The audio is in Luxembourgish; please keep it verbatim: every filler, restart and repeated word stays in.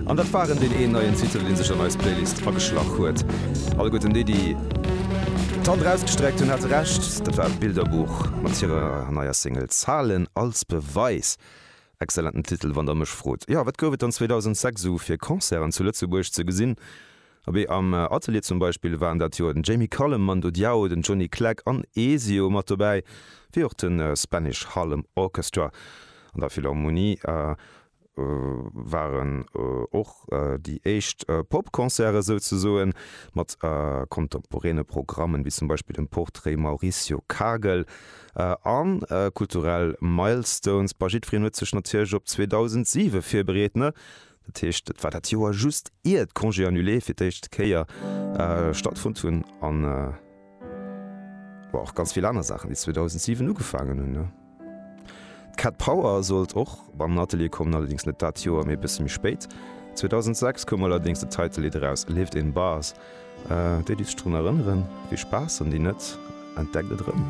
An dat waren deen een neien Titel, dee sech an eis Playlist ageschlach huet. Alleguerten déi, déi d'Hand erausgestreckt hunn, hate Recht, dat war Bilderbuch mat hirer neier Single Zahlen als Beweis. Excellenten Titel, wann der mech frot. Jo, wat gouf et dann zweedausendsechs esou fir Concerten zu Lëtzebuerg ze gesinn? Abee, am Atelier zum Beispill waren dat Joer den Jamie Cullum, Mando Diao, den Johnny Clegg an Ezio mat dobäi, wéi och de Spanish Harlem Orchestra. An der Philharmonie waren och déi éischt Pop-Concerte souzesoen, mat kontemporäne Programmen, wéi zum Beispill dem Portrait Mauricio Kagel a kulturell Milestones. Bah, jiddwereen huet sech natierlech op zweedausentsiwe virbereet, ne? Dat heescht, et war dat Joer just ier d'Congés annulés fir d'éischt Kéier stattfonnt hunn an och ganz vill aner Saachen, déi zweedausentsiwen ugefaangen hunn, ne? D'Cat Power sollt och an den Atelier kommen, allerdéngs net dat Joer, mee e bësse méi spéit. zweedausendsechs koum allerdéngs de Title-Lidd eraus, Lived in Bars. Déi, déi sech drun erënneren, vill Spaass, an déi net, entdeckt et erëm.